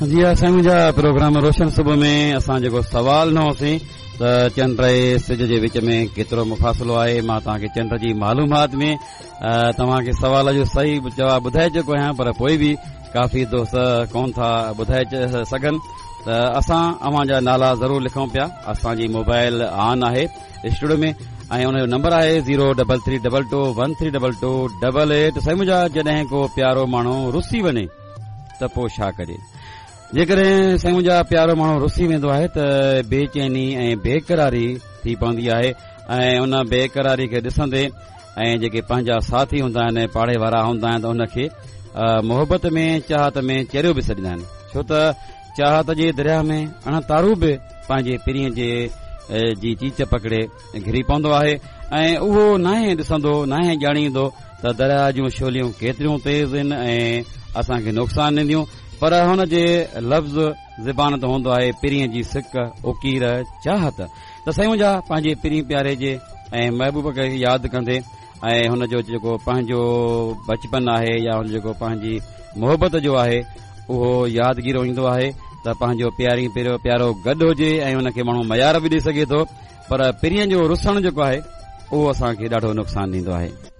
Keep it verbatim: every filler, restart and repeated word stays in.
जी ها سائين منهنجا پروگرام روشن صبح ۾ اسان جيڪو سوال ڏنو هوسين ته چنڊ ۽ سج جي وچ ۾ ڪيترو مفاصلو آهي، مان توهان کي چنڊ جي معلومات ۾ توهان کي سوال جو صحيح جواب ٻڌائي چڪو آهيان، پر پوءِ به ڪافي دوست ڪونه ٿا ٻڌائي سگهن ته اسان اوهان جا نالا ضرور لکون پيا. اسان جي موبائل آن آهي اسٽوڊيو ۾ ۽ ان جو نمبر آهي zero double three double two one three double two double eight. سائين منهنجا جڏهن ڪو پيارو ماڻهو رسي وڃي ته پوءِ ڇا ڪجي؟ جيڪڏهن سائين منهنجا پيارو ماڻهو رسي ويندو آهي ته بيچيني ۽ بيقراري ٿي پوندي آهي ۽ ان بيقراري کي ڏسندي ۽ جيڪي پنهنجا ساٿي هوندا آهن، پاڙي وارا هوندا آهن، ته ان کي محبت ۾ چاهت ۾ چريو به سڏيندا آهن، ڇو ته چاهت جي دريا ۾ اڻ تارو به پنهنجي پرينءَ جي جي چيچ پڪڙي گهري پوندو آهي ۽ اهو ناهي ڏسندو، ناهي ڄاڻيندو ته دريا جون ڇوليون ڪيتريون تيز آهن ۽ اسان کي نقصان ڏينديون، پر هن جي لفظ زبان ته هوندو آهي پرينءَ جي سڪ، اڪير، چاهت. ته سائين منهنجا پنهنجي پرين پياري جي ۽ محبوب کي ياد ڪندي ۽ هن جو جيڪو پنهنجو بچپن آهي يا هن جيڪو پنهنجي محبت جو آهي اهو يادگيرو ايندو آهي ته پنهنجو پياري پيارو گڏ هجي ۽ هن کي ماڻهو ميار به ڏيئي سگهي ٿو، پر پرينءَ جو رسڻ جيڪو آهي اهو اسان کي ڏاڍو نقصان ڏيندو آهي.